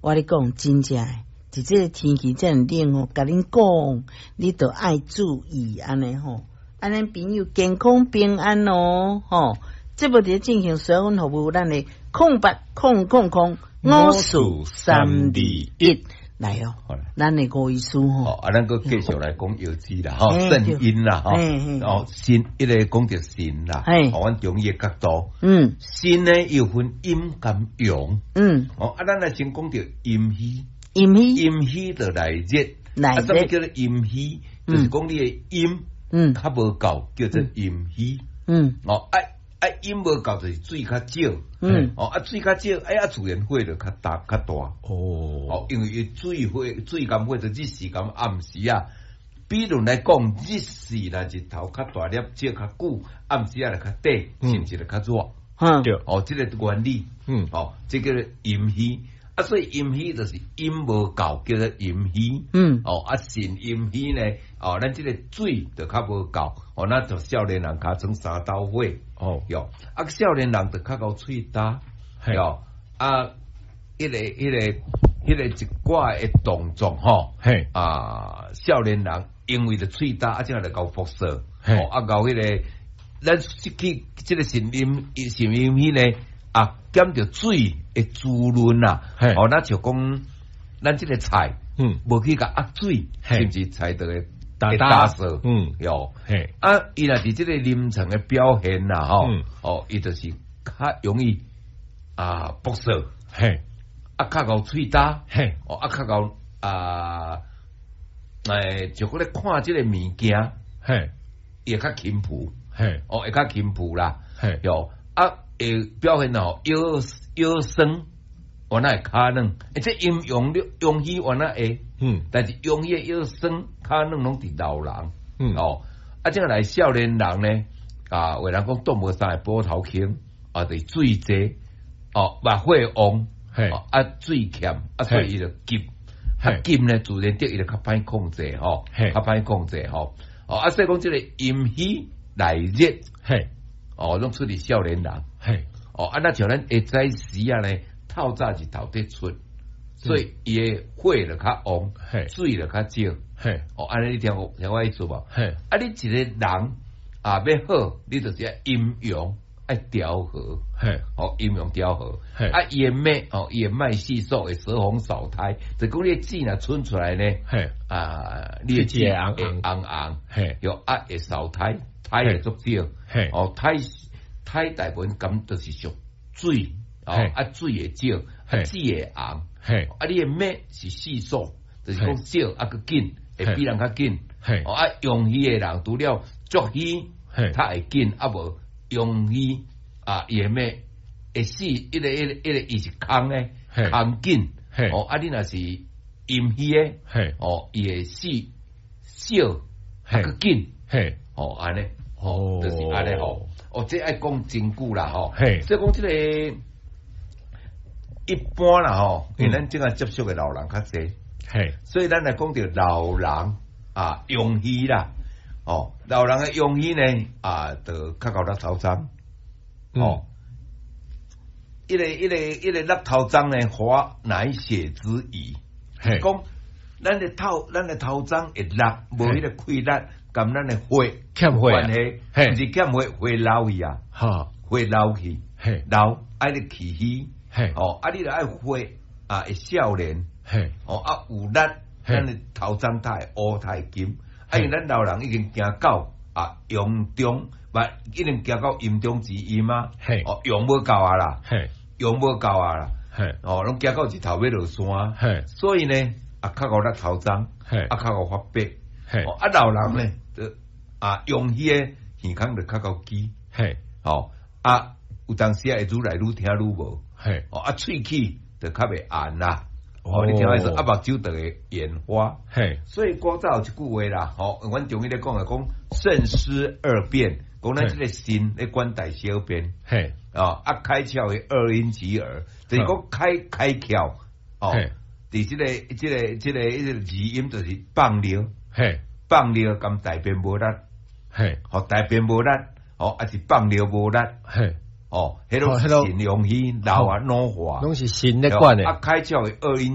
我咧講真正的，佇這个天氣遮爾冷吼，共恁講，你著愛注意按呢吼，按呢朋友健康平安哦，吼。節目佇咧進行詢問服務，咱的0800005431來哦，咱的吳醫師吼，啊，咱閣繼續來講藥劑啦，吼，腎陰啦，吼，哦，腎，一个講著腎啦，哦，阮中醫的角度，腎呢又分陰佮陽，哦，啊，咱來先講著陰虛，陰虛，陰虛就內熱，內熱，啊，啥物叫做陰虛？就是講你的陰，較無夠，叫做陰虛，哦，啊。啊，陰無夠就是水較少，哦，啊水較少，哎啊自然火就較大較大，哦，因為伊水火水共火就日時共暗時啊。比如來講，日時若日頭較大粒，照較久，暗時啊就較短，是毋是就較熱？對，哦，這个原理，哦，這个陰虛，啊，所以陰虛就是陰無夠，叫做陰虛，哦，啊腎陰虛呢，哦，咱這个水就較無夠，哦，咱就少年人尻川三斗火，喲，啊，少年人就較𠢕喙焦，喲，啊，彼个一寡的動作吼，啊，少年人因為著喙焦，啊，這樣就𠢕輻射，哦，啊，𠢕彼个，咱去這个腎陰腎陰虛呢，啊，減著水的滋潤啦，哦，咱就講，咱這个菜，無去共壓水，是毋是菜就會會焦澀？喲，啊，伊若佇這个臨床的表現啦，吼，哦，伊就是較容易啊，爆燥，啊，較𠢕喙焦，哦，啊，較𠢕啊，就講咧看這个物件，伊會較輕浮，哦，會較輕浮啦，喲，啊，會表現哦，腰腰酸，原來會跤軟，欸，這陰陽陽虛原來會，但是陽虛的腰酸、跤軟攏佇老人，哦，啊，這個來少年人呢，啊，有人講擋無三个波頭坑，啊，就是水濟，哦，嘛火旺，啊，水欠，啊，所以伊就急，啊，急呢，自然得伊就較歹控制吼，較歹控制吼，哦，啊，所以講這个陰虛內熱，哦，攏出佇少年人，哦，啊，若像咱下早時啊呢，透早日頭佇出，所以伊的火就較旺，水就較少，哦，按呢你聽我聽我意思無？啊，你一個人啊欲好，你就是愛陰陽愛調和，哦，陰陽調和，啊，伊的脈哦，伊的脈細數會舌紅少苔，就講你的舌若伸出來呢，啊，你的舌會紅紅，又啊會少苔，苔會足少，哦，苔苔大部分敢就是屬水，哦，啊水會少，啊舌會紅，啊你的脈是細數，就是講少啊閣緊，會比人較緊，哦啊陽虛的人除了足虛，較會緊，啊無陽虛啊伊的脈會死，一個一個一個伊是空的，空緊，哦啊你若是陰虛的，哦伊會死少啊閣緊，哦按呢，哦就是按呢吼，哦這愛講真久啦吼，所以講這個一般啦吼，因為咱這個接觸的老人較濟，所以咱來講著老人啊陽虛啦，哦老人的陽虛呢啊，就較𠢕納頭鬃，哦，一个一个一个納頭鬃呢，華乃血之疑，講咱的頭鬃會納，無彼个氣力，佮咱的血欠血關係，毋是欠血，血流去啊，血流去，流愛咧氣虛，哦，啊，你著愛血啊，會少年，哦，啊有力，咱的頭鬃才會烏，才會金，啊，因為咱老人已經行到啊陽中，毋已經行到陰中之陰啊，哦，陽無夠啊啦，陽無夠啊啦，哦，攏行到日頭欲落山，所以呢，啊，較𠢕納頭鬃，啊，較𠢕發白，哦，啊，老人呢，就啊，陽虛的耳孔就較𠢕支，哦，啊，有當時啊會愈來愈聽愈無，哦，啊，喙齒就較袂絚啦，哦，你聽我意思，啊，目睭就會眼花，所以古早有一句話啦，吼，阮中醫咧講的講腎失二便，講咱這个腎咧管大小便，哦，啊，開竅的二陰及耳，就是講開開竅，哦，佇這个這个這个彼个字音就是放尿，放尿佮大便無力，吼，大便無力，吼，抑是放尿無力，哦，彼攏是腎陽虛，老啊老化，攏是腎咧管的。啊，開竅的惡飲。